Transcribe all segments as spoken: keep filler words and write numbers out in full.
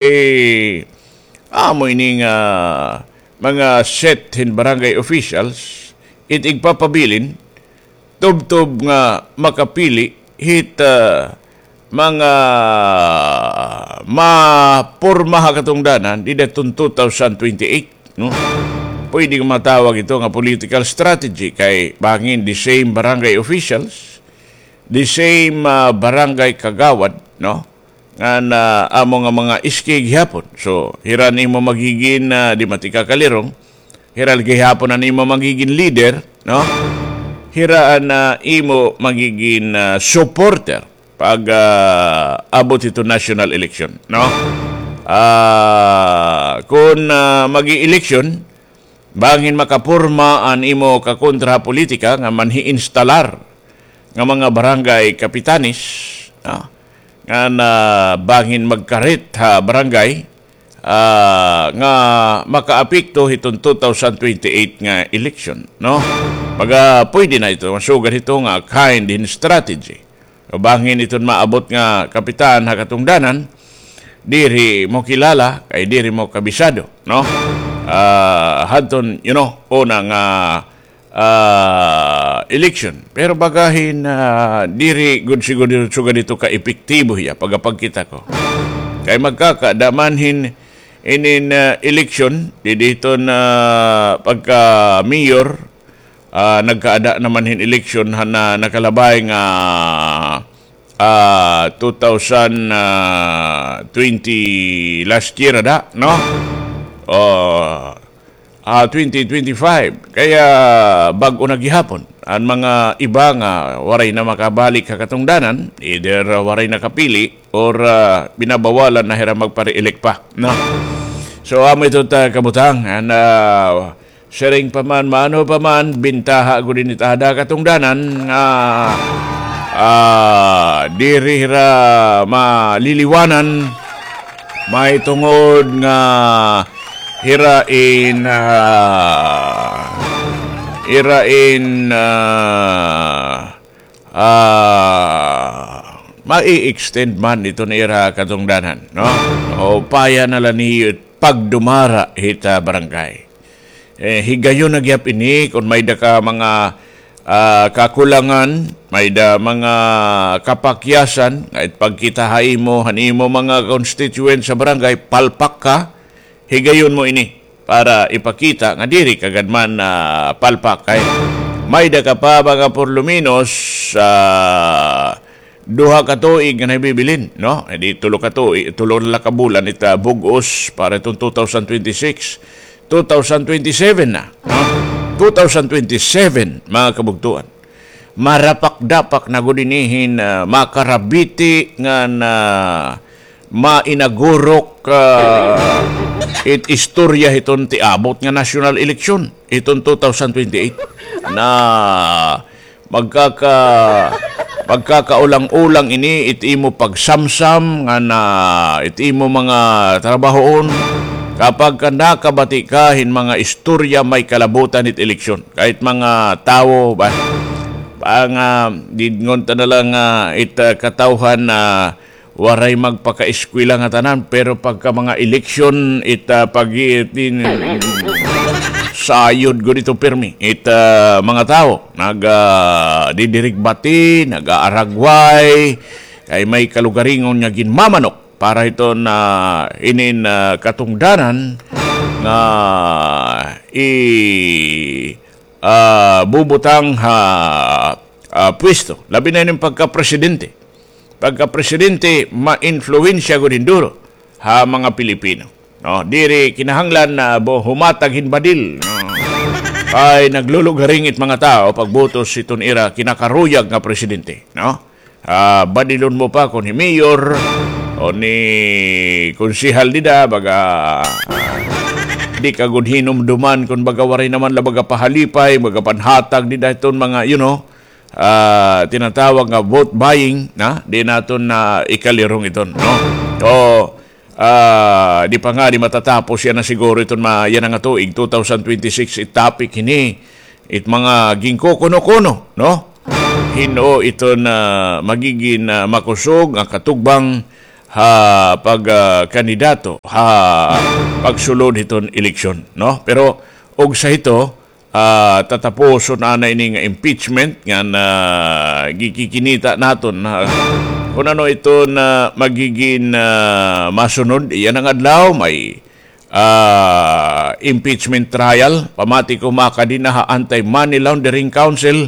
Eh, amo ini nga mga set hin barangay officials, it igpapabilin, tubtob nga makapili hit, ah, mga maporma ha katungdanan dida hiton two thousand twenty-eight, no? Pwede matawag ito nga political strategy kay bangin the same barangay officials, the same, ah, barangay kagawad, no? Ngan amo nga mga iski gihapon. So, hira an imo magigin, ah, di man tika kalirong, hira gihapon an imo magigin leader, no? Hira an, ah, imo magigin, ah, supporter pag, ah, abot hito national election, no? Ah, kon, ah, magi-eleksyon, bangin makaporma an imo kakontra ha politika nga manhi-instalar nga mga barangay kapitanes, ah, ngan bangin magkarit ha barangay, ah, nga makaapekto hiton two thousand twenty-eight nga election, no? Baga pwede na ito, masugad hito nga kind hin strategy. O bangin iton maabot nga kapitan ha katungdanan, diri mo kilala, kay diri mo kabisado, no? Ah, hadton, you know, una nga, ah, election. Pero bagahin, ah, diri gud siguro sugad ito ka-epektibo hiya, pagkapagkita ko. Kay magkakada man hin inin, ah, election, didi hiton pagka-mayor, ah, nagkaada naman hin eleksyon han, ah, nakalabay nga, ah, two thousand twenty last year ada, no? O, ah, twenty twenty-five. Kaya bag-o na gihapon an mga iba nga waray na makabalik ha katungdanan, either, ah, waray nakapili or, ah, binabawalan na hira magpa-re-elect pa, no? So, amo ito ta kabutang, and, ah, siring pa man, maano pa man, bintaha gud ini ta ha katungdanan nga, ah, diri hira maliliwanan, mahitungod nga hira in, ah, hira in, ah, ah, mai-extend man iton ira katungdanan, no? O paya na la niyo pagdumara hit barangay. Eh, higayon na gihap ini, kon may-ada ka mga, ah, kakulangan, may-ada mga kapakyasan, nga ipagkita ha imo, han imo mga constituent sa barangay, palpak ka, higayon mo ini para ipakita nga diri ka gad man, ah, palpak. Kay may-ada ka pa mga por lo menos, ah, duha ka tuig nga nahibibilin, no? Eh, di tulo ka tuig, tulo na la ka bulan it, ah, bug-os para iton two thousand twenty-six. Two thousand twenty-seven na, no? Two thousand twenty-seven, mga kabugtuan. Marapak-dapak na gud ini hin, ah, makarabiti ngan mainagurok, ah, it istorya hiton tiabot nga national election hiton two thousand twenty-eight. Na magkaka-, magkakaulang-ulang ini it imo pagsamsam ngan it imo mga trabahoon. Kapag ka nakabati ka hin mga istorya may kalabutan hit eleksyon, kahit mga tawo ba, pang, ah, didngon ta na la nga it, ah, katawhan, ah, waray magpakaeskwela nga tanan, pero pagka mga eleksyon, it, ah, pag-, it, in, sayod gud ito pirmi. It, ah, mga tawo, nag, ah, didirigbati, nag-aaragway, kay may kalugaringon nga ginmamanok para hiton inin, ah, katungdanan nga i-, ah, bubutang ha, ah, pwesto. Labi na ini pagka-presidente. Pagka-presidente, ma-influensya gud hin duro ha mga Pilipino. No, diri kinahanglan na bo-, humatag hin badil, no? Ay naglulugaring it mga tawo pagbutos hiton ira kinakaruyag nga presidente, no? Ah, badilon mo pa kon hi mayor o ni konsehal dida, baga, ah, di ka gud hinumduman kon baga waray naman la baga pahalipay, baga panhatag dida hiton mga, you know, ah, tinatawag nga vote buying, na? Di naton na ikalirong iton, no? So, ah, di pa ngani matatapos yana siguro iton ma-, yana nga tuig, two thousand twenty-six, i-topic hini, it mga ginkukuno-kuno, no? Hin-o iton magigin, ah, makusog nga katugbang ha pag, ah, kandidato ha pagsulod hiton eleksyon, no? Pero ugsa hito, ah, tatapuson anay ini nga impeachment nga na gikikinita naton, ha, kun ano iton, ah, magigin, ah, masunod. Iya na nga adlaw, may, ah, impeachment trial. Pamati ko, makadi na ha Anti-Money Laundering Council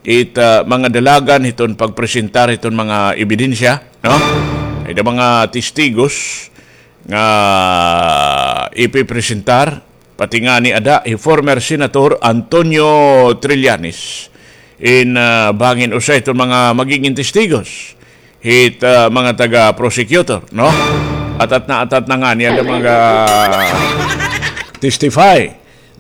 it, ah, mga dalagan hiton pagpresentar hiton mga ebidensya, no? Ada mga testigos nga ipipresentar, pati ngani ada hi former Senator Antonio Trillanes. In, ah, bangin usa iton mga magigin testigos hit, ah, mga taga-prosecutor, no? Atat na, atat na ngani ada mag-testify,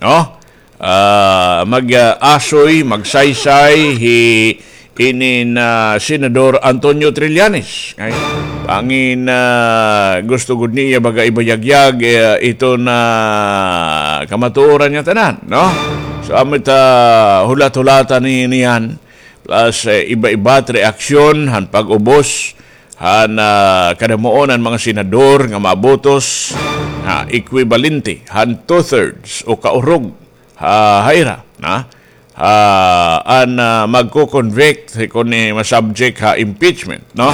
no? Ah, mag, ah, asoy, magsaysay hi inin, ah, Senador Antonio Trillanes. Ay, bangin, ah, gusto gud niya baga ibayagyag, eh, iton kamatuoran nga tanan, no? So, amo it hulat-hulatan ni, niyan, plus, eh, iba-iba it reaksyon han pag-ubos han, ah, kadamuon han mga senador nga mabotos, ah, ekwibalente han two-thirds o kaurog ha, ha ira, na? Ah, an, ah, magko-convict, kon, eh, ma-subject ha impeachment, no?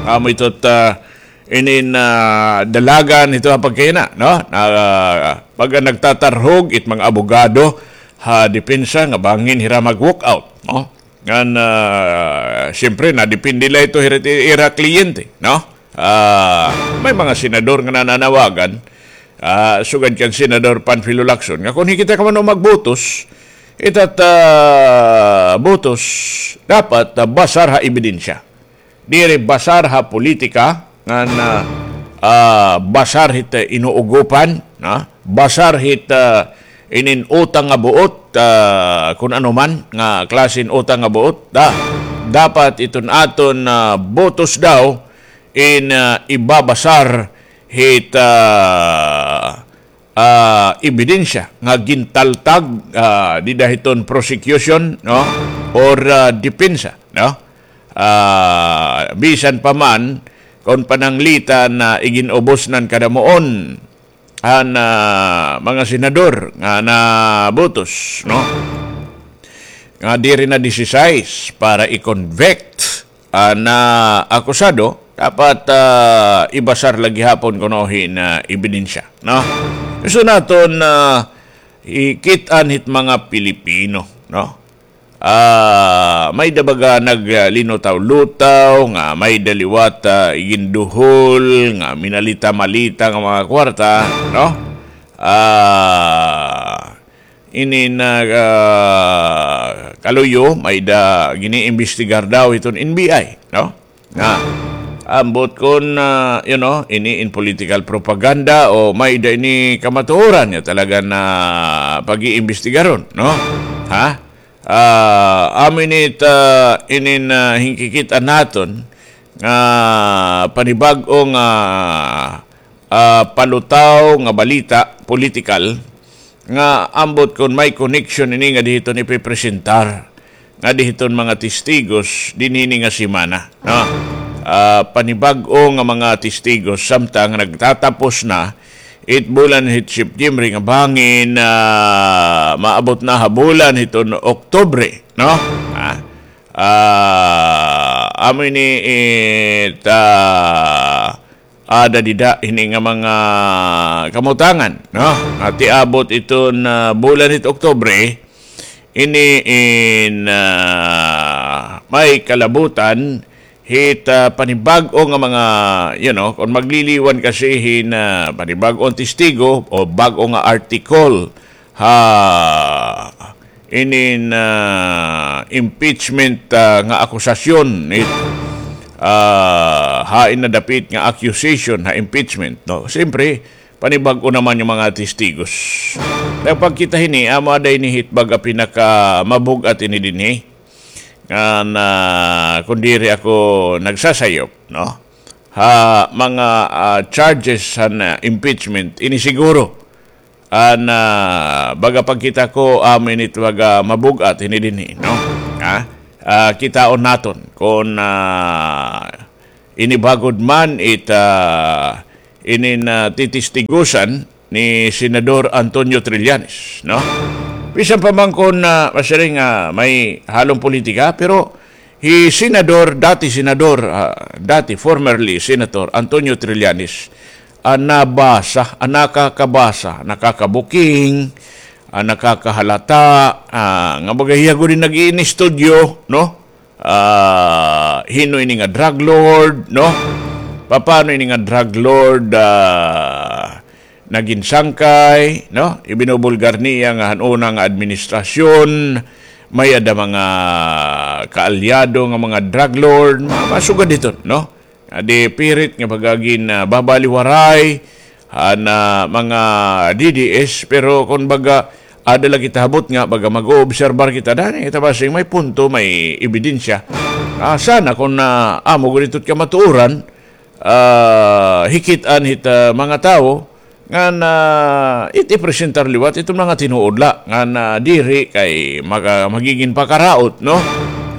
Amo ito, ah, inin, ah, dalagan ito ha pagkaina, no? Na, ah, pag nagtatarhog it mga abogado ha depensa nga bangin hira mag-walk out, no? Ngan, ah, siyempre, nadepende la ito hira, ira kliyente, no? Ah, may mga senador nga nananawagan, ah, sugad kan Senador Panfilo Lacson, nga kon hikit ka man o magbotos, ita it, ah, botos, dapat, ah, basar ha ebidensya. Diri basar ha politika, ngan, ah, ah, basar hit, ah, inuugopan, na? Basar hit, ah, inin utang nga buot, ah, kun ano man nga klase hin utang nga buot, da-, dapat iton aton, ah, botos daw in, ah, ibabasar hit, ah, ah, ebidensya nga gintaltag, ah, dida hiton prosecution, no? Or, ah, depensa, no? Ah, bisan pa man kon pananglitan na igin-ubos na han kadamuon han, ah, mga senador nga nabotos, no? Nga diri na disisais para i-convict an, ah, akusado, dapat, ah, ibasar la gihapon kuno hin, ah, ebidensya, no? Gusto naton, ah, ikit-an hit mga Pilipino, no? Ah, may-ada baga naglinutaw-lutaw nga may-ada liwat, ah, iginduhol, nga minalita-malita nga mga kwarta, no? Ah, inin, ah, kaluyo, may-ada giniimbestigar daw hiton N B I, no? Nga, ambot kon, ah, you know, ini in political propaganda o may-ada ini kamatuoran nga talaga na pag-iimbestigaron, no? Ha? Ah, amo ini it, ah, inin, ah, hinkikit-an naton nga panibag-o nga, ah, palutaw nga balita, politikal, nga ambot kon may connection ini nga dida hiton ipipresentar ngadi hiton mga testigos dinhi ini nga semana, no? Ah, panibag-o nga mga testigos, samtang nagtatapos na it bulan hit September nga bangin, ah, maabot na ha bulan hiton Oktubre, no? Ah, ah, amo ini it, ah, ada dida hini nga mga kamutangan, no? Nga ti-abot iton, ah, bulan hit Oktubre, ini in, ah, may kalabutan hit, ah, panibag-o nga mga, you know, kon magliliwan kasi hin, ah, panibag-o nga testigo o bag-o nga article ha inin, ah, impeachment, ah, nga akusasyon, it, ah, hain na dapit nga accusation ha impeachment, no? Siyempre, panibag-o naman nga mga testigos. Kay pagkita hini, amo ada ini hit baga pinakamabug-at ini dinhi. Ngan, ah, kon diri ako nagsasayop, no? Ha mga, ah, charges han, ah, impeachment, ini siguro an, ah, baga pagkita ko, amo ini it baga mabug-at hini dinhi, no? Ha? Ah, kitaon naton kon, ah, ini ba gud man it, ah, inin, ah, titistigusan ni Senador Antonio Trillanes, no? Bisan pa man kon, ah, masiring nga may halong politika, pero hi Senador, dati Senador, ah, dati formerly Senator Antonio Trillanes, ah, nabasa, ah, nakakabasa, nakakabuking, ah, nakakahalata, ah, nga baga hiya gud in nag-iinistudyo, no? Ah, hin-o ini nga drug lord, no? Papaano ini nga drug lord, ah, nagin sangkay, no? Ibinubulgar niya nga han una nga administrasyon, may-ada mga kaalyado nga mga drug lord, mga, mga sugad hiton, no? Nga di pirit nga baga gin, ah, babaliwaray han, ah, mga D D S, pero kon baga, ada la kita habot nga baga mag-oobserbar kita, dani kita basing may punto, may ebidensya. Ah, sana kon, ah, amo gud ito it kamatuoran, ah, hikit-an hit, ah, mga tawo, ngan, ah, it ipresentar liwat iton mga tinuod la, ngan, ah, diri kay maga-, magigin pakaraot, no?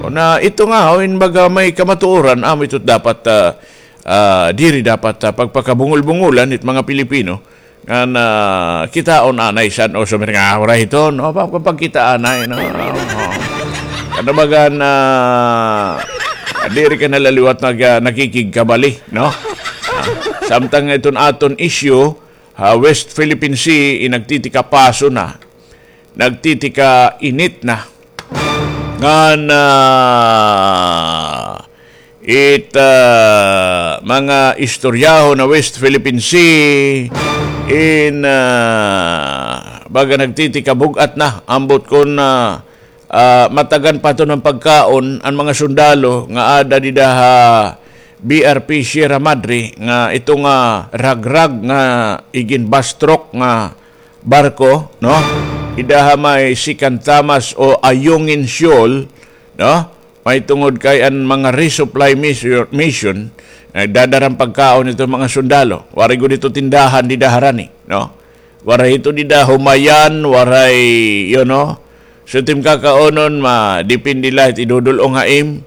Kon, ah, ito nga, o, in baga may kamatuoran, amo ito dapat, ah, ah, diri dapat, ah, pagpakabungol-bungolan it mga Pilipino, ngan, ah, kitaon anay san-o sumiring nga, ah, waray hiton, no? Pa-, pa-, pagkita anay, no? Oo. Ano baga na, diri ka na la liwat nag-, ah, nakikigkabali, no? Ah, samtang iton aton issue, ha West Philippine Sea, in nagtitikapaso na, nagtitikainit na. Ngan, ah, it, ah, mga istoryahon ha West Philippine Sea, in, ah, baga nagtitikabug-at na, ambot kon, ah, ah, matagan pa iton nga pagkaon an mga sundalo nga ada dida ha B R P Sierra Madre, nga ito nga ragrag nga igin-bastrok nga barko, no? Dida ha may Sikan Thomas o Ayungin Shoal, no? Mahitungod kay an mga resupply mission, mission, nagdadara hin pagkaon iton mga sundalo. Waray gud ito tindahan dida harani, no? Waray ito dida humayan, waray, you know. So, it im kakaunon, ma-, depende la it idudul-ong ha im.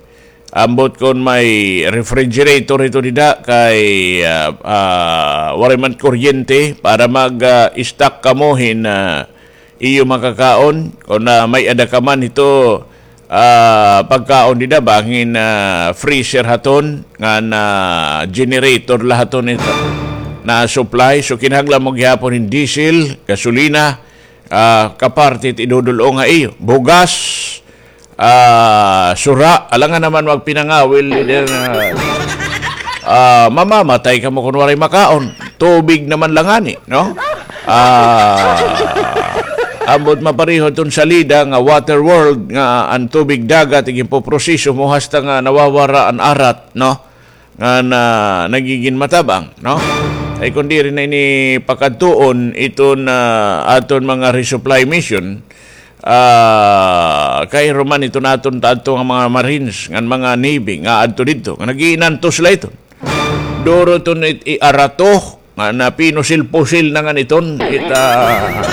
Ambot kon may refrigerator ito dida kay, ah, ah, waray man kuryente para mag, ah, stock kamo hin, ah, iyo makakaon. Kon, ah, may-ada ka man ito, ah, pagkaon dida, bangin, ah, freezer haton, ngan generator la haton ito na supply. So, kinahanglan mo gihapon hin diesel, gasolina, ah, kaparte it idudul-ong ha iyo. Bugas, ah, sura, alangan naman magpinangawil, leader, nga, ah, mamamatay kamo kon waray makaon. Tubig naman la ngani, no? Ah, ambot mapareho iton salida nga Water World nga an tubig dagat iginpoproseso mo hasta nga nawawara an arat, no? Nga na nagigin matab-ang, no? Ay kon diri na ini pakadtuon iton, ah, aton mga resupply mission, ah, kay ruman iton aton, aton nga mga Marines, ngan mga Navy, nga adto didto, nga nag-iinantos la iton. Duro iton it-, iarato, nga napinusil-pusil na ngan iton, it, ah,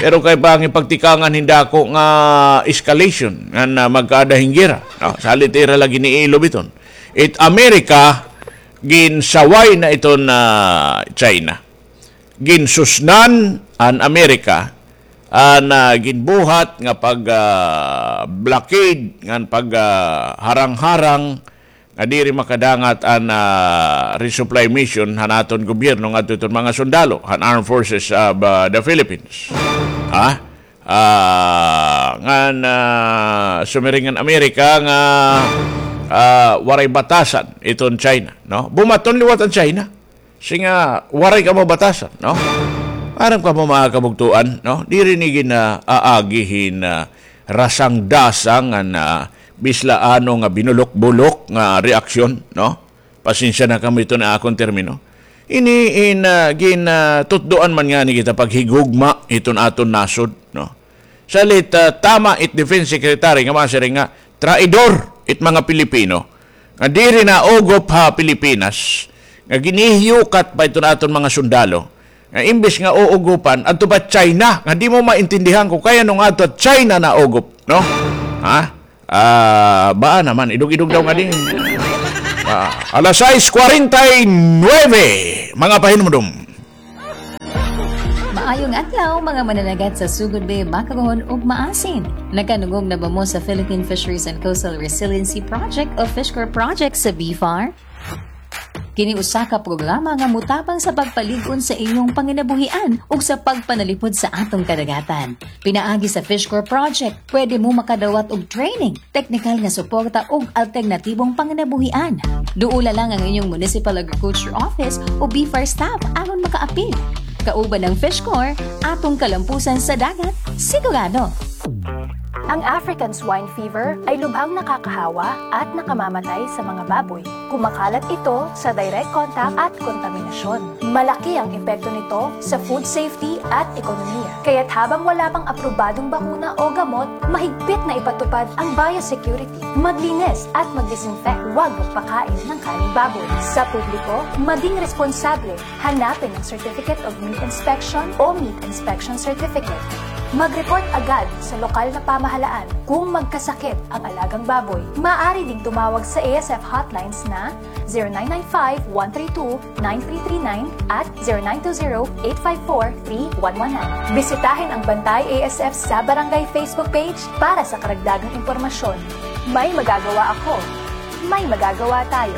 pero kay pangipagtikangan hin dako nga escalation, nga na magkaada hin gera, no? Salit ira la giniilob iton. It Amerika, ginsaway na iton, ah, China. Ginsusnan an Amerika an, ah, ginbuhat nga pag, ah, blockade ngan pag, ah, harang-harang nga diri makadangat an, ah, resupply mission han aton gobyerno ngadto iton mga sundalo han Armed Forces of, ah, the Philippines. Ha? Ah, ngan, ah, sumiring an Amerika nga, ah, waray batasan iton China, no? Bumaton liwat an China. Siring nga waray kamo batasan, no? Aram kamo, mga kabugtoan, no? Diri ini gin-aagi hin, ah, rasang-dasang ngan, ah, bisan ano nga binulok-bulok nga reaksyon, no? Pasensya na kamo, ito na akon termino. Ini in, ah, gin, ah, tutdoan man ngani kita paghigugma iton aton nasod, no? Salit, ah, tama it Defense Secretary nga masiring nga traidor it mga Pilipino nga diri naugop ha Pilipinas, nga ginhihiyukat pa iton aton mga sundalo, nga imbes nga uugopan, adto pa China, nga di mo maintindihan kon kay ano nga adto China naugop, no? Ha? Ah, baa naman, idog-idog daw ngadi. Ah, alas sais kwarenta y nuebe, mga pahinumdom. Maayong adlaw, mga mananagat sa Sugod Bay, Makaron ug Maasin. Nakadungog na ba mo sa Philippine Fisheries and Coastal Resiliency Project o Fishcore Project sa BFAR? Kini usa ka programa nga motabang sa pagpalig-on sa inyong panginabuhian ug sa pagpanalipod sa atong kadagatan. Pinaagi sa Fishcore Project, pwede mo makadawat og training, teknikal nga suporta ug alternatibong panginabuhian. Duola lang ang inyong Municipal Agriculture Office o BFAR staff aron makaapil. Kauban ang Fishcore, atong kalampusan sa dagat, sigurado. Ang African swine fever ay lubhang nakakahawa at nakamamatay sa mga baboy. Kumakalat ito sa direct contact at kontaminasyon. Malaki ang epekto nito sa food safety at ekonomiya. Kaya't habang wala pang aprobadong bakuna o gamot, mahigpit na ipatupad ang biosecurity. Maglinis at mag-disinfect. Huwag magpakain ng kaning baboy. Sa publiko, maging responsable. Hanapin ang Certificate of Meat Inspection o Meat Inspection Certificate. Mag-report agad sa lokal na pamahalaan kung magkasakit ang alagang baboy. Maaari ding tumawag sa A S F hotlines na zero nine nine five, one three two, nine three three nine at zero nine two zero, eight five four, three one one nine. Bisitahin ang Bantay A S F sa Barangay Facebook page para sa karagdagang impormasyon. May magagawa ako. May magagawa tayo.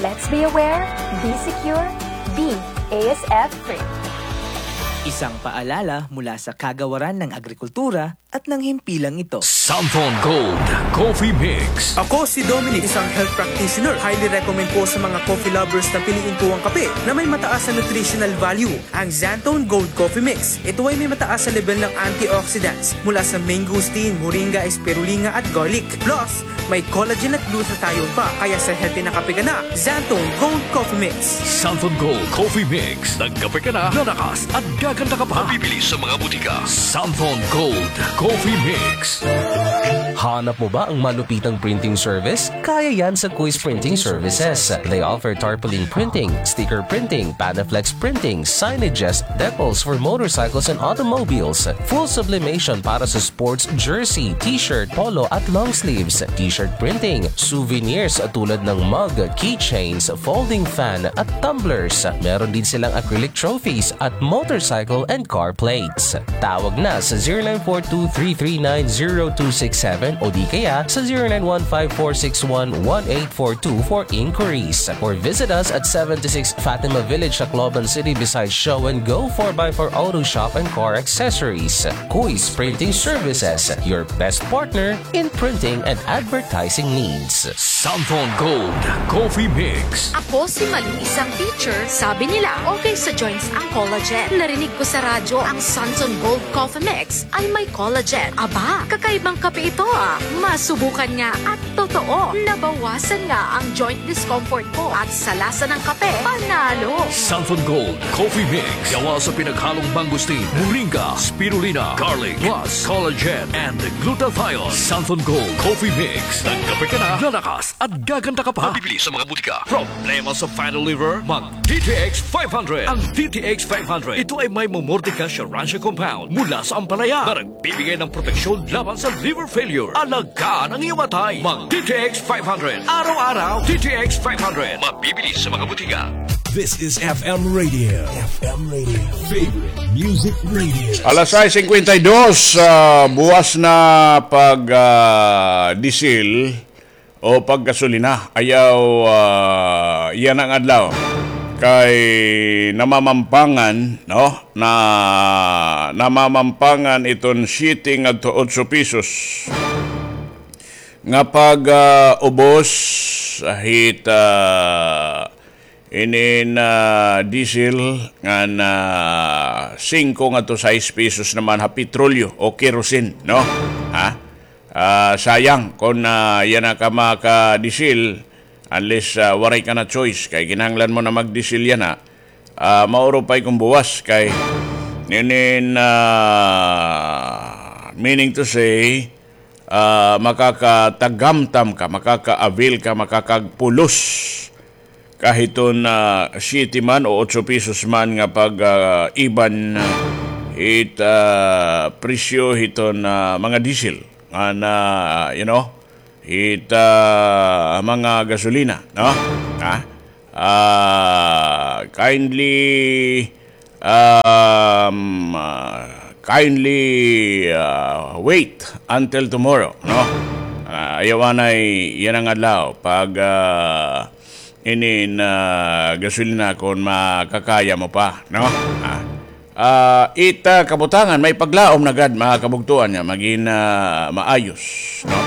Let's be aware, be secure, be A S F free. Isang paalala mula sa Kagawaran ng Agrikultura at ng himpilang ito. Santhon Gold Coffee Mix. Ako si Dominic, isang health practitioner. Highly recommend ko sa mga coffee lovers na piliin ko ang kape na may mataas na nutritional value. Ang Xanthone Gold Coffee Mix. Ito ay may mataas na level ng antioxidants mula sa mangosteen, moringa, spirulina at garlic. Plus, may collagen at glutathione pa, kaya sa healthy na kape ka na, Xanthone Gold Coffee Mix. Santhon Gold Coffee Mix. Nagkape ka na, lalakas at gaganda ka pa. Mabibili sa mga butika. Santhon Gold Coffee Mix. Hanap mo ba ang malupitang printing service? Kaya yan sa Kuis Printing Services. They offer tarpaulin printing, sticker printing, Panaflex printing, signages, decals for motorcycles and automobiles, full sublimation para sa sports jersey, t-shirt, polo at long sleeves, t-shirt printing, souvenirs tulad ng mug, keychains, folding fan at tumblers. Meron din silang acrylic trophies at motorcycle and car plates. Tawag na sa zero nine four two three three nine zero two six seven o di kaya sa zero nine one five four six one one eight four two for inquiries. Or visit us at seventy-six Fatima Village, Tacloban City, beside Show and Go four by four Auto Shop and Car Accessories. Kuis Printing Services, your best partner in printing and advertising needs. Santhon Gold Coffee Mix. Ako si Malu, isang teacher. Sabi nila, okay sa joints ang collagen. Narinig ko sa radyo ang Santhon Gold Coffee Mix ay may collagen. Aba, kakaibang kape ito ah. Masubukan nga at totoo, nabawasan nga ang joint discomfort ko at sa lasa ng kape, panalo. Santhon Gold Coffee Mix. Gawa sa pinaghalong mangosteen, moringa, spirulina, garlic, plus collagen and glutathione. Santhon Gold Coffee Mix. Nagkape ka na, lalakas at gaganda ka pa. Mabibili sa mga butika. Problema sa fatty liver? Mag D T X five hundred. Ang D T X five hundred, ito ay may Momordica Schirransia compound mula sa ampalaya na nagbibigay ng proteksyon laban sa liver failure. Alagaan ang iyong atay. Mag D T X five hundred. Araw-araw, D T X five hundred. Mabibili sa mga butika. This is F M Radio. F M Radio. Favorite Music Radio. Alas sais singkwenta y dos, ah, buwas na pag, ah, disil o paggasolina. Ayaw, ah, yana nga adlaw. Kay namamampangan, no? Na, namamampangan iton siyete ngadto otso pesos nga pag, ah, ubos hit, ah, inin, ah, diesel ngan singko ngadto sais pesos naman ha petrolyo o kerosene, no? Ha? Ah, sayang kon, ah, yana ka makadiesel, unless, ah, waray ka na choice, kay kinahanglan mo na magdiesel yana. Ah, maurupay kon buwas kay inin, ah, meaning to say, ah, makakatagamtam ka, makaka-avail ka, makakagpulos ka hiton, ah, siyete man o otso pesos man nga pag, ah, iban hit, ah, presyo hiton, ah, mga diesel. Nga na, you know, hit, ah, mga gasolina, no? Ha? Ah, kindly, um, ah, kindly, ah, wait until tomorrow, no? Ah, ayaw anay yana nga adlaw pag, ah, inin, ah, gasolina kon makakaya mo pa, no? Ah, ah, it, ah, kabutangan, may paglaom na gad, mga kabugtoan, nga magin, ah, maayos, no?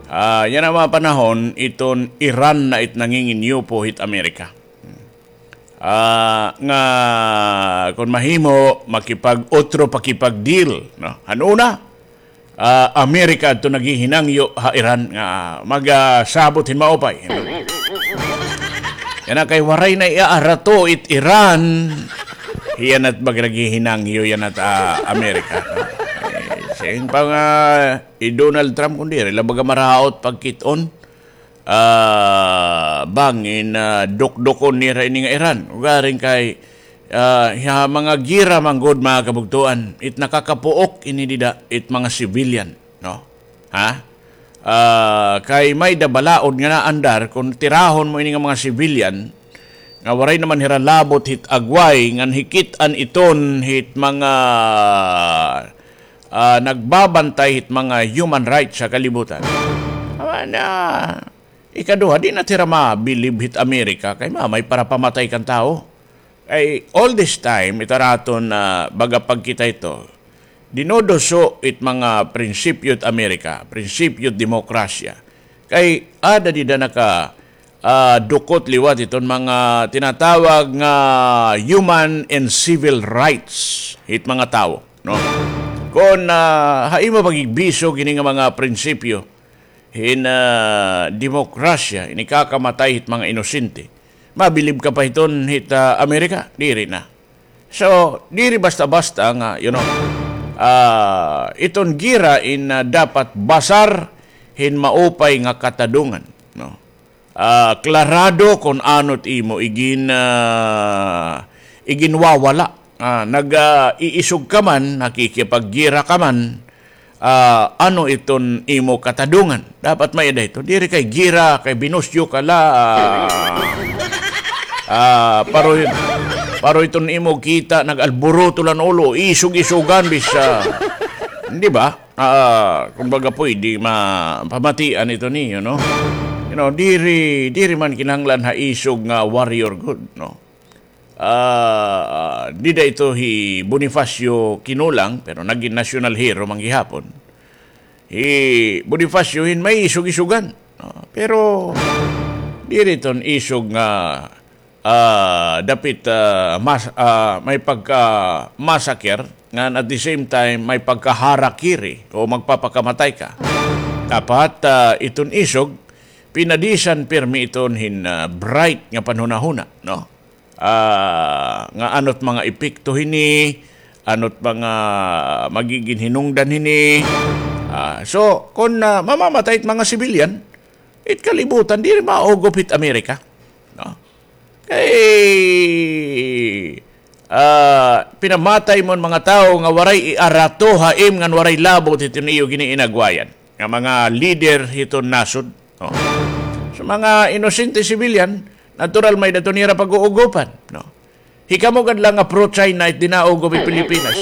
Ah, yana nga mga panahon, iton Iran na it nanginginyupo hit Amerika. Ah, nga kon mahimo, makipag-utro, pakipag-deal, no? Han una, ah, Amerika adto naghihinangyo ha Iran nga magasabot hin maupay. Yana kay waray na iarato it Iran. Yana it baga naghihinangyo yana it, ah, Amerika, no? Eh, siring pa nga hi Donald Trump kon diri la baga maraot pagkit-on, ah, bangin, ah, dukdukon nira ini nga Iran. Ugaring kay, ah, ha mga gira man gud, mga kabugtoan, it nakakapuok ini dida, it mga civilian, no? Ha? Ah, kay may-ada balaod nga naandar kon tirahon mo ini nga mga civilian nga waray naman hira labot hit agway ngan hikit-an iton hit mga, ah, nagbabantay hit mga human rights ha kalibutan. Awa na, ikaduha, di na hira mabilib hit Amerika kay mamay para pamatay kan tawo. Ay, all this time, ito naton, ah, baga pagkita ito, dinuduso it mga prinsipyo it Amerika, prinsipyo it demokrasya. Kay ada dida naka, ah, dukot liwat iton mga tinatawag nga human and civil rights hit mga tawo, no? Kon, ah, ha imo pagigbisog ini nga mga prinsipyo hin, ah, demokrasya, ini kakamatay hit mga inosente, mabilib ka pa hiton hit, ah, Amerika? Diri na. So, diri basta-basta nga, you know, ah, iton gira in, ah, dapat basar hin maupay nga katadungan, no? Ah, klarado kon ano it imo igin-, ah, iginwawala. Ah, nag, ah, iisog ka man, nakikipaggira ka man, ah, ano iton imo katadungan. Dapat may-ada ito. Diri kay gira, kay binusyo ka la, ah, ah, paro, paro iton imo kita, nag-alboroto la an ulo, isog-isogan, bis, ah, di ba? Ah, kumbaga, pwede ma-, pamatian ito niyo, no? You know, diri, diri man kinahanglan ha isog nga warrior gud, no? Ah, dida ito hi Bonifacio Kinulang, pero nagin national hero man gihapon. Hi Bonifacio hin may isog-isogan, no? Pero diri iton isog nga, ah, dapit, ah, mas-, ah, may pagka-massacre, ngan at the same time, may pagka-harakiri o magpapakamatay ka. Dapat, ah, iton isog, pinadisan pirmi iton hin, ah, bright nga panhunahuna, no? Ah, nga ano't mga epekto hini, ano't mga magigin hinungdan hini. Ah, so, kon, ah, mamamatay it mga civilian, it kalibutan, diri maugop hit Amerika. No? Kay, ah, pinamatay mo an mga tawo nga waray iarato ha im ngan waray labot hiton iyo giniinagwayan nga mga lider hiton nasod. Oh. So, mga inosente civilian, natural may-ada iton ira pag-uugopan, no? Hikamo gad la nga pro-China it di naugop it Pilipinas.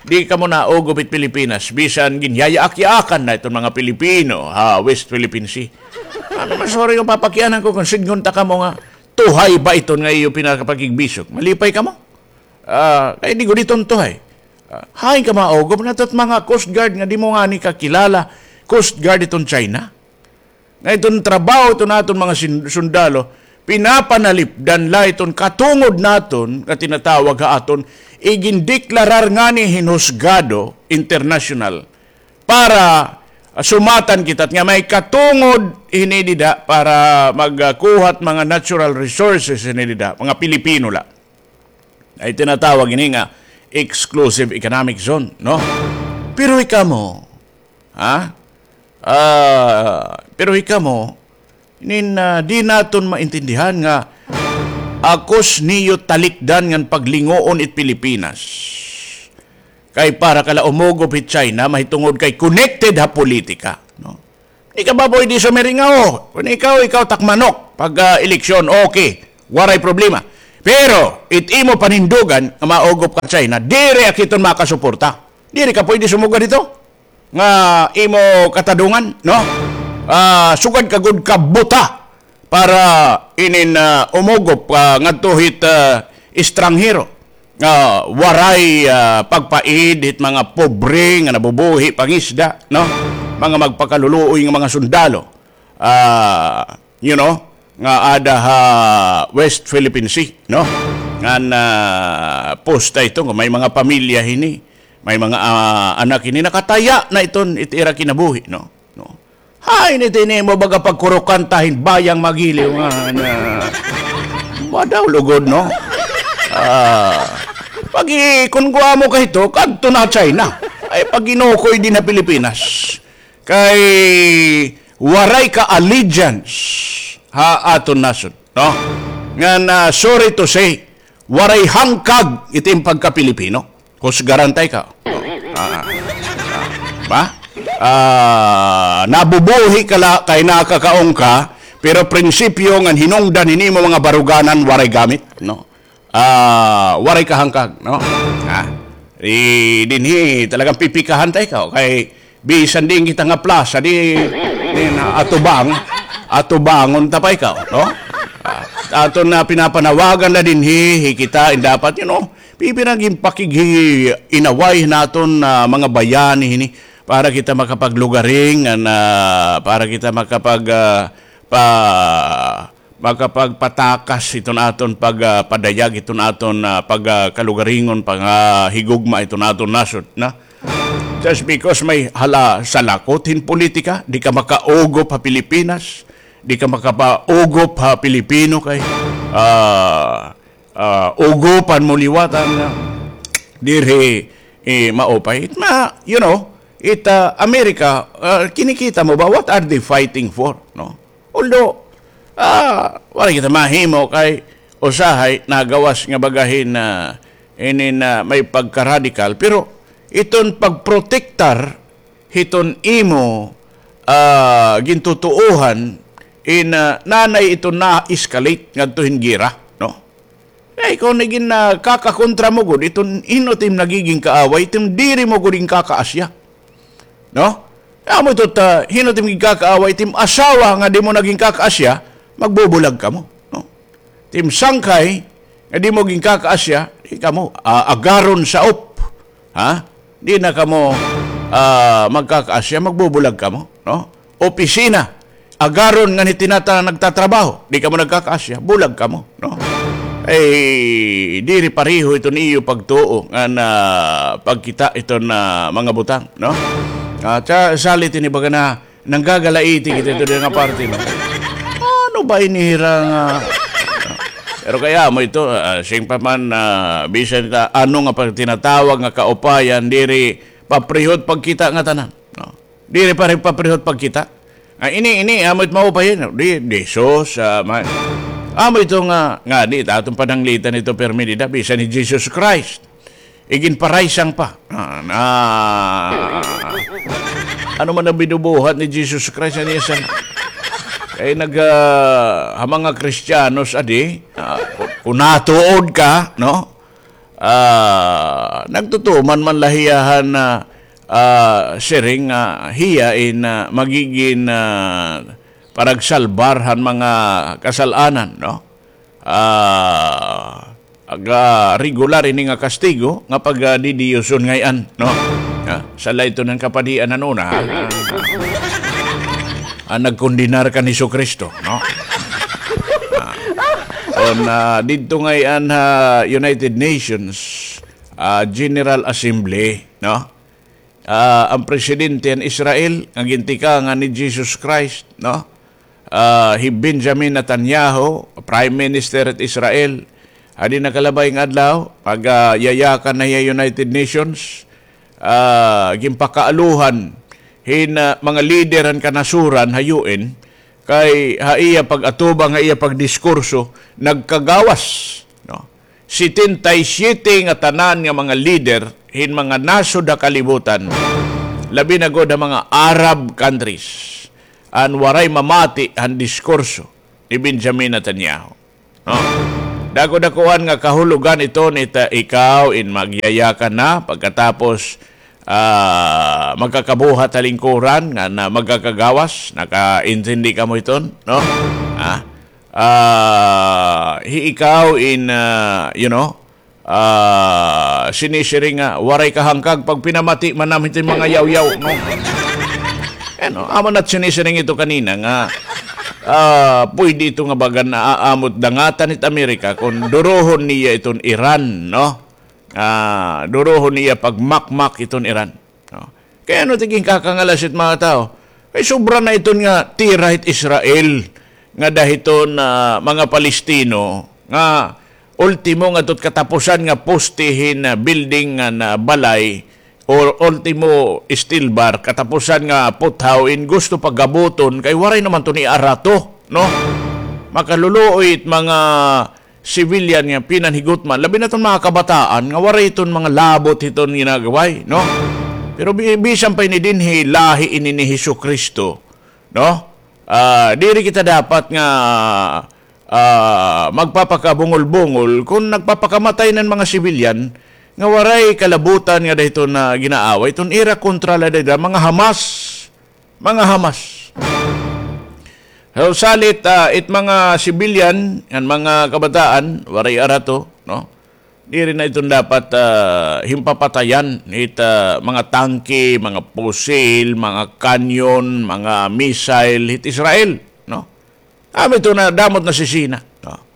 Di kamo naugop it Pilipinas, bisan ginyayaak-yaakan na iton mga Pilipino ha West Philippine Sea. Ano man, sorry kon papakianan ko kon sidngon ta kamo nga tuhay ba iton nga iyo pinakapakigbisog. Malipay kamo? Ah, kay di gud iton tuhay. Ah, hain ka maugop? Nato't mga Coast Guard nga di mo ngani kakilala, Coast Guard iton China. Nga iton trabaho iton aton mga sin-, sundalo, pinapanalipdan la iton katungod naton nga tinatawag ha aton, igindeklarar ngani hin husgado internasyonal para, ah, sumatan kita nga may katungod hini dida para magkuha hit mga natural resources hini dida, mga Pilipino la. Ay tinatawag ini nga exclusive economic zone, no? Pero hikamo, ha? Ah, pero hikamo, nin, ah, di naton maintindihan nga akos niyo talikdan ngan paglinguon it Pilipinas. Kay para ka la umugop hit China, mahitungod kay connected ha politika, no? Di ka ba pwede sumiring nga, oh, kun ikaw, ikaw tak manok pag, ah, eleksyon, okay, waray problema. Pero it imo panindugan nga maugop ka China, diri ak hiton makasuporta. Diri ka pwede sumugad hito nga imo katadungan, no? Ah, sugad ka gud ka buta para inin, ah, umugop, ah, ngadto hit, ah, estranghero nga waray, ah, pagpaid hit mga pobre nga nabubuhi pangisda, no? Mga magpakaluluoy nga mga sundalo. Ah, you know, nga ada ha West Philippine Sea, no? Ngan, ah, posta ito nga may mga pamilya hini, may mga, ah, anak hini, nakataya na iton it ira kinabuhi, no? No. Hay, niti nimo baga pagkurukanta hin bayang magiliw nga na. Madaw lugod, no? Ah, pagi kun guamo ka hito, kadto na China. Ay, paginukoy din ha Pilipinas. Kay waray ka allegiance ha aton nasod, no? Ngan, ah, sorry to say, waray hangkag it im pagka-Pilipino. Husgaran ta ikaw. Ah, ah, ba? Ah, nabubuhi ka la kay nakakaon ka, pero prinsipyo ngan hinungdan hin imo mga baruganan waray gamit, no? Ah, waray kahangkag, no? Ha? Dinhi talagang pipikahan ta ikaw kay bisan diin kita nga plaza, di, di na atubang, atubangon ta pa ikaw, no? Ah, aton na pinapanawagan na dinhi, hi kita, in dapat, you know, pipinagin pakighi-inaway naton, ah, mga bayani hini para kita makapaglugaring, ngan, ah, para kita makapag, ah, pa makapagpatakas hiton aton pag, ah, padayag, hiton aton, ah, pag, ah, kalugaringon, pag, ah, higugma hiton aton nasod, na? Just because may hala salakot hin politika, di ka makaugop ha Pilipinas, di ka makapaugop ha Pilipino kay, ah, ah, ugopan mo liwat an, ah, diri, eh, maupay. It ma-, you know, it, ah, America, ah, kinikita mo ba, what are they fighting for, no? Although, ah, waray kita mahimo kay usahay nagawas nga baga hin, ah, inin, ah, may pagka-radical, pero iton pagprotektar hiton imo, ah, gintutuohan in, ah, nanay iton na-escalate ngadto hin gera, no? Ay, kon nagin, ah, kakakontra mo gud, iton hin-o it im nagigin kaaway, it im diri mo gud ginkakaasya. No? Amo ito ta, hin-o it im ginkakaaway, it im asawa nga di mo na ginkakaasya, magbubulag kamo, no? It im sangkay nga di mo ginkakaasya, di kamo, ah, agaron sa op. Ha? Di na kamo, ah, magkakaasya, magbubulag kamo, no? Opisina, agaron ngan hitinata nagtatrabaho, di kamo nagkakaasya, bulag kamo, no? Ay, diri pareho iton iyo pagtuo ngan pagkita iton mga butang, no? Ah, salit ini baga na nanggagalaiti kita ito nga parte, no? Ano ba ini hira nga? Pero kay amo ito, ah, sing pa man, ah, bisan ta ano nga pagtinatawag nga kaupayan, diri paprehot pagkita nga tanan, no? Diri pa rin paprehot pagkita. Ah, ini, ini, amo it maupay, no? Di, di, sus, ah, ma-, amo ito nga, nga, di, ta aton pananglitan ito, permi dida, bisan ni Jesus Christ. Iginparaysang pa. Ah, na, ano man an binubuhat ni Jesus Christ, ano yan sa, kay nag, ah, ha mga Kristiyanos, adi, ah, ku-, kun natuod ka, no? Ah, nagtutuman man la hiya han, ah, ah, siring, ah, hiya in, ah, magigin, ah, paragsalbar han mga kasal-anan, no? Ah, aga regular ini nga kastigo nga pagadidiyoson ngay-an, no? Ah, sa la ito ng kapadian han una, ha? Ah, ah, nagkondenar kan Jesucristo, no? Ah, on, ah, didto ngay-an ha United Nations, ah, General Assembly, no? Ah, an presidente han Israel nga gintikangan ni Jesus Christ, no? Ah, hi Benjamin Netanyahu, Prime Minister hit Israel, adi nakalabay nga adlaw, pag, ah, yayakan na hiya United Nations, ah, ginpakaaluhan hin, ah, mga lider han kanasoran ha U N, kay ha iya pag-atubang, ha iya pagdiskurso, nagkagawas, no? Setenta y siete nga tanan nga mga lider hin mga nasod ha kalibutan, labi na gud ha mga Arab countries, an waray mamati han diskurso ni Benjamin Netanyahu. No? Dako-dakuan nga kahulogan iton ita ikaw in magyayakan na pagkatapos, ah, magkakabuhat ha lingkuran nga na magkakagawas, nakaintindi kamo iton, no? Ah, ah, hi ikaw in, ah, you know, ah, sinisiring nga waray kahangkag pagpinamati man namon hiton mga yawyaw, no? Ano, amo na't sinisiring ito kanina nga, ah, pwede ito nga bagan na aamot dangatan it Amerika kon durohon niya iton Iran, no? Ah, durohon niya pagmakmak iton Iran, no? Kay ano tigin kakangalas it mga tao? Kay sobra na iton nga tira hit Israel nga dahiton, ah, mga Palestino nga ultimo nga tot katapusan nga poste hin, ah, building nga na balay o ultimo steel bar, katapusan nga puthaw in gusto pagabuton kay waray naman to ni arato, no? Makaluluoy it mga civilian nga pinanhigutman, labi na ton mga kabataan nga waray iton mga labot hiton ginagaway, no? Pero bi-, bisan pa ini dinhi lahi ini ni Hesukristo, no? Ah, diri kita dapat nga, ah, magpapakabungol-bungol kon nagpapakamatay nan mga civilian nga waray kalabutan nga dahiton nga ginaaway, iton ira kontra la dida mga Hamas. Mga Hamas. So, salit, ah, it mga civilian, an mga kabataan, waray arato, no? Diri na iton dapat, ah, himpapatayan hit, ah, mga tangke, mga pusil, mga kanyon, mga missile hit Israel, no? Amo ito na damot na si Sina, no?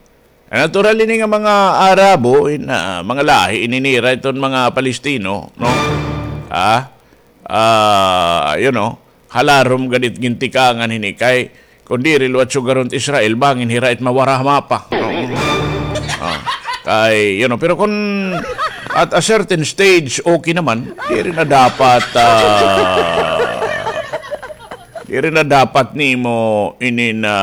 Natural ini nga mga Arabo, in, ah, mga lahi, ininira iton mga Palestino, no? Ah, ah, you know, halarom gad it gintikangan hini kay kon diri liwat sugaron it Israel, bangin hira it mawara ha mapa. Ah, kay, you know, pero kon at a certain stage, okay naman, diri na dapat, ah, diri na dapat nimo ini na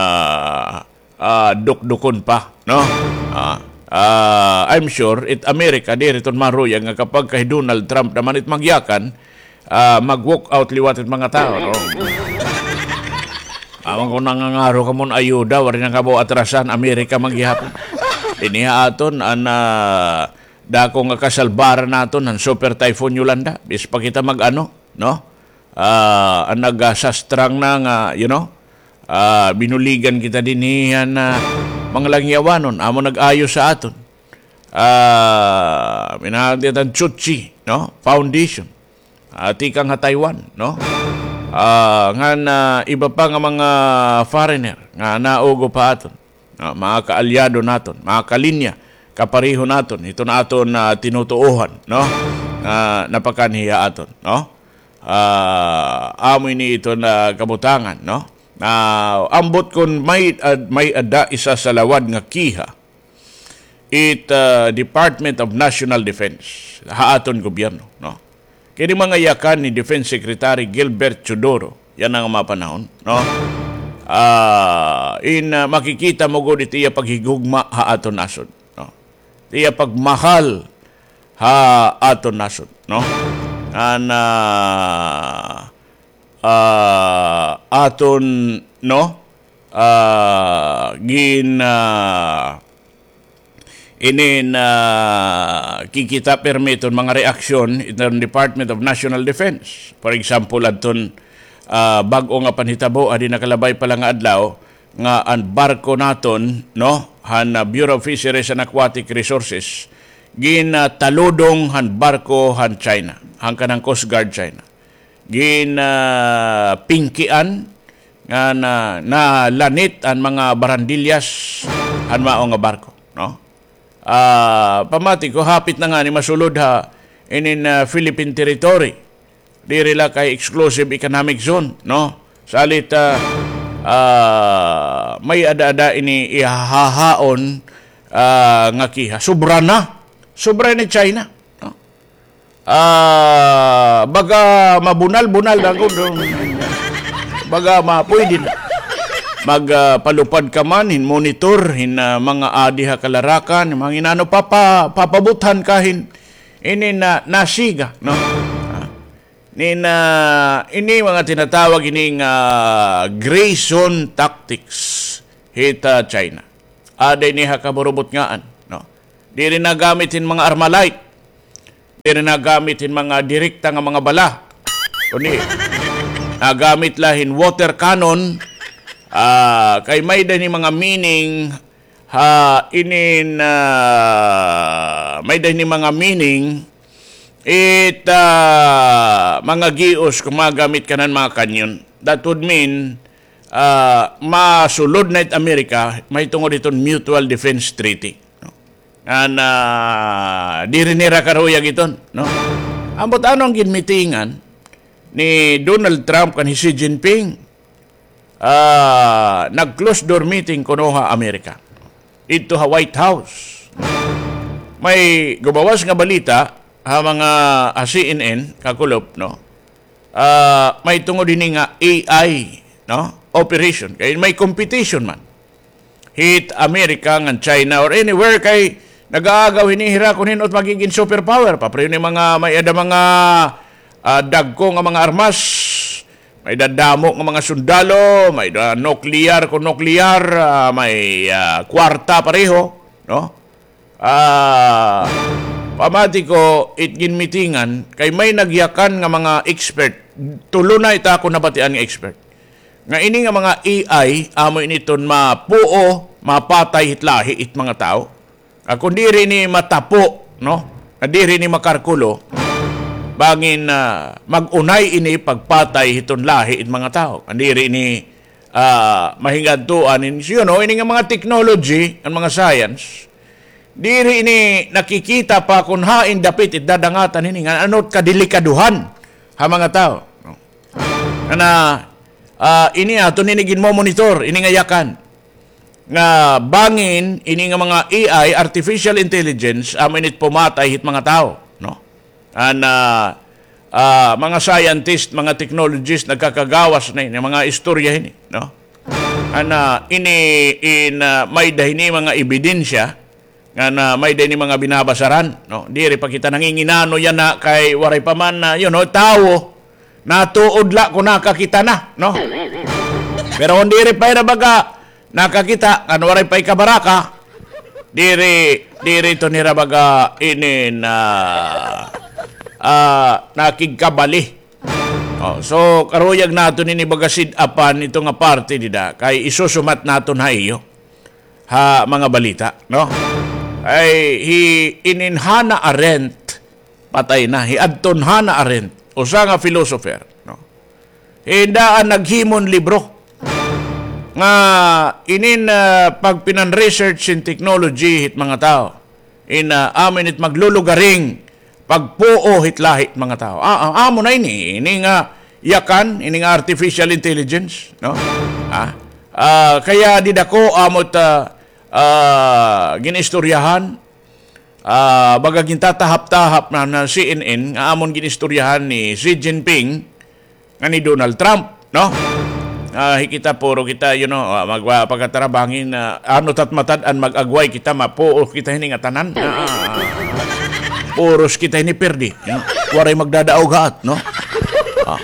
ah, dukdukon pa, no? Ah, ah, I'm sure it America, diri ton maruyag nga kapag kay Donald Trump naman it magyakan, ah, mag-walk out liwat it mga tao, no? Awan ko nangangaro kamon ayuda, waray na kamo atrasan, America man gihapon. Dinhi ha aton, an, ah, dako nga kasalbaran naton, an Super Typhoon Yolanda. Bis pa kita mag-ano, no? Ah, an nagasastrang na nga, you know, ah, binuligan kita dinhi han, ah, mga langyawanon, amo nag-ayo sa aton. Ah, minahan kita an Chuchi, no? Foundation. Ah, tikang ha Taiwan, no? Ah, ngan, ah, iba pa nga mga foreigner nga naugop ha aton. Ah, mga kaalyado naton, mga kalinya, kapareho naton, hiton aton, ah, tinutuohan, no? Nga napakanhi ha aton, no? Ah, amo ini iton, ah, kabutangan, no? Ah, ambot kon may, ah, may-ada isasalawad nga kiha it, ah, Department of National Defense ha aton gobyerno, no? Kini mga yakan ni Defense Secretary Gilbert Teodoro yana nga mga panahon, no? Ah, in, ah, makikita mo gud it iya paghigugma ha aton nasod, no? It iya pagmahal ha aton nasod, no? An, ah, ah, aton, no? Ah, gin, ah, inin, ah, kikita pirmi iton mga reaksyon iton Department of National Defense. For example, adton, ah, bag-o nga panhitabo, adi nakalabay pa la nga adlaw, nga an barko naton, no, han, ah, Bureau of Fisheries and Aquatic Resources, gin, ah, taludong han barko han China, han kanang Coast Guard China. Gin, ah, pingkian nga na, nalanit an mga barandilyas han mao nga barko, no? Ah, pamati ko, hapit na ngani masulod ha inin, ah, Philippine territory. Diri la kay exclusive economic zone, no? Salit, ah, ah, may ada-ada ini ihahaon, ah, nga kiha. Sobra na. Sobra ni China, no? Ah, baga mabunal-bunal na gud, no? Baga ma-, pwede na. Mag, ah, palupad ka man, hin monitor, hin, ah, mga adi ha kalarakan, mga inano, papa-, papabuthan ka hin, ini na, nasiga, no? Ah. Nin, ah, ini mga tinatawag ini nga gray zone tactics hit, ah, China. Ada ini ha kaburubutngaan, no? Diri nagamit hin mga Armalite. Diri nagamit hin mga direkta nga mga bala. Kundi nagamit la hin water cannon, ah, kay may-ada ini mga meaning ha inin, ah, may-ada ini mga meaning it, ah, mga gios kon magamit kanan mga kanyon. That would mean, ah, masulod na it Amerika mahitungod hiton Mutual Defense Treaty, no? Ngan, ah, diri nira karuyag iton, no? Ambot ano an ginmitingan ni Donald Trump kan hi Xi Jinping? Ah, nag-closed door meeting kuno ha Amerika. Ito ha White House. May gumawas nga balita ha mga, ah, C N N, kakulop, no? Ah, mahitungod hini nga A I, no? Operation. Kay may competition man hit America ngan China or anywhere kay nag-aagaw hini hira kon hin-o it magigin superpower. Pareho ni mga may-ada mga, ah, dagko nga mga armas, may-ada damo nga mga sundalo, may-ada nuclear kon nuclear, ah, may, ah, kwarta pareho, no? Ah, pamati ko it ginmitingan kay may nagyakan nga mga expert. Tulo na it akon nabatian nga expert nga ini nga mga A I, amo ini iton mapuo, mapatay hit lahi it mga tawo. Ah, kon diri ini matapo, no? Nga diri ini makarkulo, bangin, ah, mag-unay ini pagpatay hiton lahi it mga tawo. Kon diri ini, ah, mahingadtuan ini, you know, ini nga mga technology, an mga science, diri ini nakikita pa kon hain dapit it dadangatan hini, ngan ano it kadelikaduhan ha mga tawo, no? Ngan, ah, ini aton ini ginmomonitor, ini nga yakan. Nga bangin ini nga mga A I, artificial intelligence, amo ini it pumatay hit mga tawo, no? An, ah, ah, mga scientist, mga technologist, nagkakagawas na ini, mga istorya hini, no? An, ah, ini, in, ah, may-ada hini mga ebidensya, ngan may-ada ini mga binabasaran, no? Diri pa kita nanginginano yana kay waray pa man, ah, you know, tawo. Natuod la kon nakakita na, no? Pero kon diri pa hira baga nakakita, ngan waray pa ikabaraka, diri, diri iton hira baga ini na, ah, nakigkabali. Oh, so, karuyag naton ini baga sid-apan ito nga parte dida, kay isusumat naton ha iyo ha mga balita, no? Ay, hi, inin Hannah Arendt, patay na. Hi adton Hannah Arendt, usa nga philosopher, no? Hi daan naghimo hin libro nga inin, ah, pagpinan-research hin technology hit mga tawo. In, ah, amo ini it maglulugaring pagpuo hit lahi hit mga tawo. Ah, ah, amo na ini, ini nga yakan, ini nga artificial intelligence, no? Ah, ah, kaya dida ko amo it, ah, ah, ginistoryahan, ah, baga gintatahap-tahap na, na C N N, nga amon ginistoryahan ni Xi Jinping, nga ni Donald Trump, no? Ah, hi kita, puro kita, you know, ah, magpakatara bangin, ah, ano tat matad-an mag-agway kita, mapuo kita hini nga tanan. Ah, ah, ah. Puros kita hini pirdi, you know? Waray magdadaog haat, no? Ah.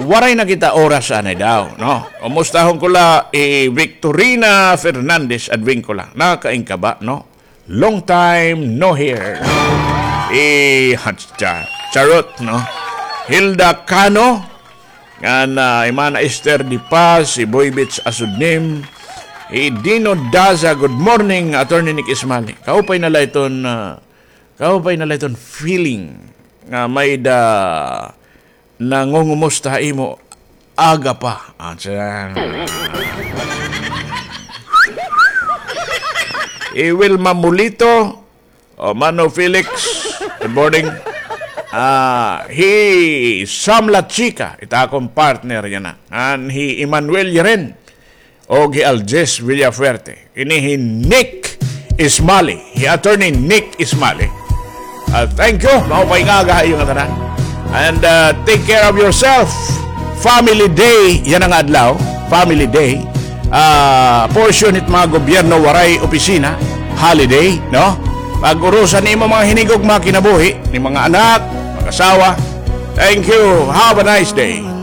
Waray na kita oras anay daw, no? Umustahon ko la, eh, Victorina Fernandez Advincula. Nakaingkaba, no? Long time no hear. Eh, hatsa. Charot, no? Hilda Cano, ngan, ah, Imana Esther Di Paz, hi Boy Beach Asudnim, hi Dino Daza, good morning, Attorney Nick Ismali. Kaupay na la iton, ah, kaupay na la iton feeling nga may-ada nangungumusta ha imo aga pa. Ah, tiyan. Hi Wilma Mulito, o Mano Felix, good morning. Ah, hi Sam La Chica, it akon partner yana. Ngan hi Emmanuel Yeren. Og hi Aljes Villafuerte. Ini hi Nick Ismali, hi Attorney Nick Ismali. Ah, thank you. Maupay nga aga ha iyo ngatanan. And, ah, take care of yourself. Family Day yana nga adlaw. Family Day. Ah, portion hit mga gobyerno waray opisina. Holiday, no? Pag-urusan nimo mga hinigugma kinabuhi, ni mga anak, mag-asawa, Thank you. Have a nice day.